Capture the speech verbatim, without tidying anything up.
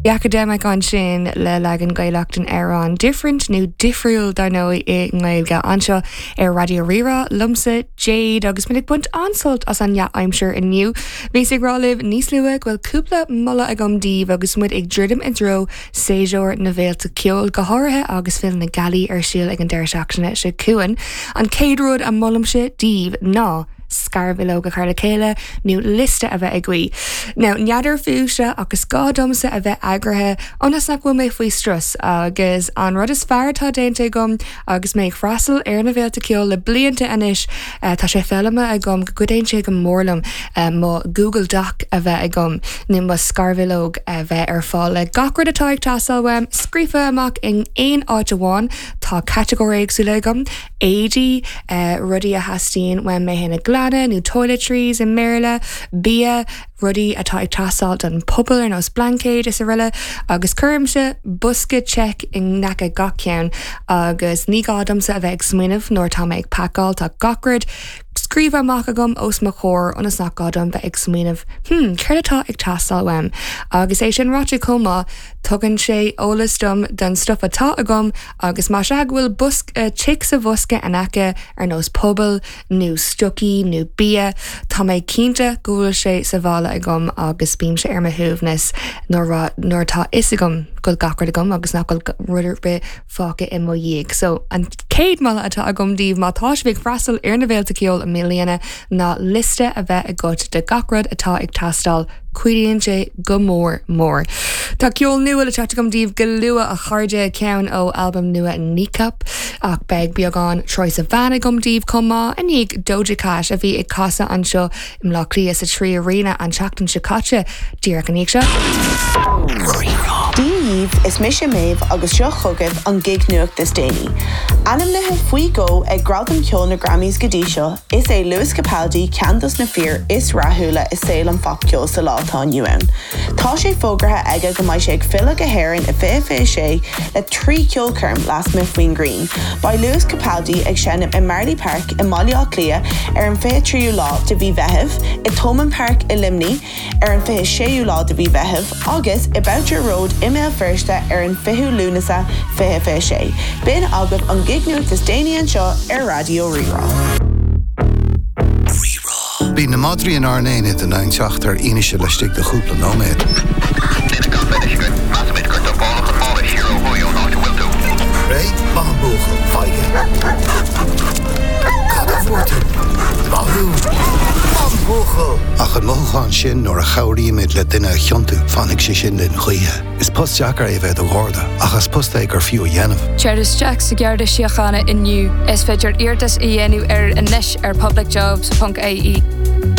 Academic ansin le leagan Gaelach den amhrán Different nó difriúil dar ndóigh i nGaeilge anseo ar Raidió Rí-Rá liomsa Jade agus muid ag baint an-sult as an dea-aimsir inniu. Bhíos ag rá libh níos luaithe go bhfuil cúpla moladh agam daoibh agus muid ag druidim i dtreo séasúr na bhféilte ceoil go háirithe agus Féile na Gealaí ar siúl ag an deireadh seachtaine seo chugainn. An chéad rud a molaimse daoibh ná scarbhileog a chur le chéile nó liosta a bheith agaibh. Now n'fheadar fúibhse agus gá domsa a bheith eagraithe ionas nach bhfuil mé faoi strus agus an rud is fearr atá déanta agam agus mé ag freastal ar na bhféilte ceoil le blianta anois uh, tá sé foghlamtha agam go gcuidíonn sé go mór liom uh, mo Google Doc a bheith agam nó mo scarbhileog a bheith ar fáil le gach rud atá ag teastáil uaim scríofa amach in aon áit amháin tá catagóirí éagsúla agam éadaí uh, rudaí a theastaíonn uaim mé féin a ghlanadh nó toiletries i mBéarla, bia, rudaí atá ag teastáil don phuball ar nós blaincéid is araile agus cuirimse bosca check in aice gach ceann agus ní gá domsa a bheith ag smaoineamh nuair tá mé ag pacáil tá gach rud scríofa amach agam os mo chomhair ionas nach gá dom bheith ag smaoineamh hmm, céard atá ag teastáil uaim agus é sin ráite chomh maith tugann sé eolas dom den stuff atá agam agus má sea go bhfuil bosca uh, tic sa bhosca in aice ar nós puball nó stocaí nó bia Tá mé cinnte go bhfuil sé sa bhaile agam agus bímse ar mo shuaimhneas nuair nuair atá fhios agam go bhfuil gach rud agam agus nach bhfuil rud ar bith fágtha i mo dhiaidh. So an chéad mholadh atá agam daoibh má tá sibh ag freastal ar na bhféilte ceoil i mbliana ná liosta a bheith agat de gach rud atá ag teastáil cuidíonn sé go mór mór. Tá ceol nua le teacht agam daoibh go luath a chairde ceann ó albam nua Kneecap ach beidh beagán Troye Sivan agam daoibh chomh maith i ndiaidh Doja Cat a bhí ag casadh anseo i mBleá Cliath sa Trí Arena an tseachtain seo caite díreach ina dhiaidh seo. Dia daoibh is mise Méabh agus seo chugaibh an gig nuacht is déanaí. Ainmnithe faoi dhó ag Gradaim Cheoil na Grammys go dtí seo, is é Lewis Capaldi ceann dos na fir is rathúla i saol an phopcheoil sa lá atá inniu ann. Tá sé fógartha aige go mbeidh sé ag filleadh go hÉirinn i fiche fiche sé le trí cheolchoirm lasmuigh faoin ngrian. Beidh Lewis Capaldi ag seinm i Marlay Park i mBaile Átha Cliath ar an fiche tríú lá de mhí Mheithimh, i Thomond Park i Luimnigh ar an fiche séú lá de mhí Mheithimh agus i Boucher Road i mBéal Feirste ar an fichiú Lúnasa fiche fiche sé. B'in agaibh an gig nuacht is déanaí anseo ar Raidió Rí-Rá. Bhí na madraí in ár n-aonad in ann teacht ar fhianaise laistigh de chúpla nóiméad. Duine gan bheith measaimid gur dumpálach an mála siar ó thuaidh ón áit a bhfuil tú. Réidh maith an buachaill faighe. Cad a fuair tú? Maith thú. An buachaill. Ach an mothúchán sin nuair a chabhraímid le duine a chiontú fanfaidh sé sin linn choíche. Is post deacair é bheith i do Gharda ach is post é gur fiú a dhéanamh. Tar isteach sa Gharda Síochána inniu is féidir iarratas a dhéanamh ar anois ar publicjobs.ie.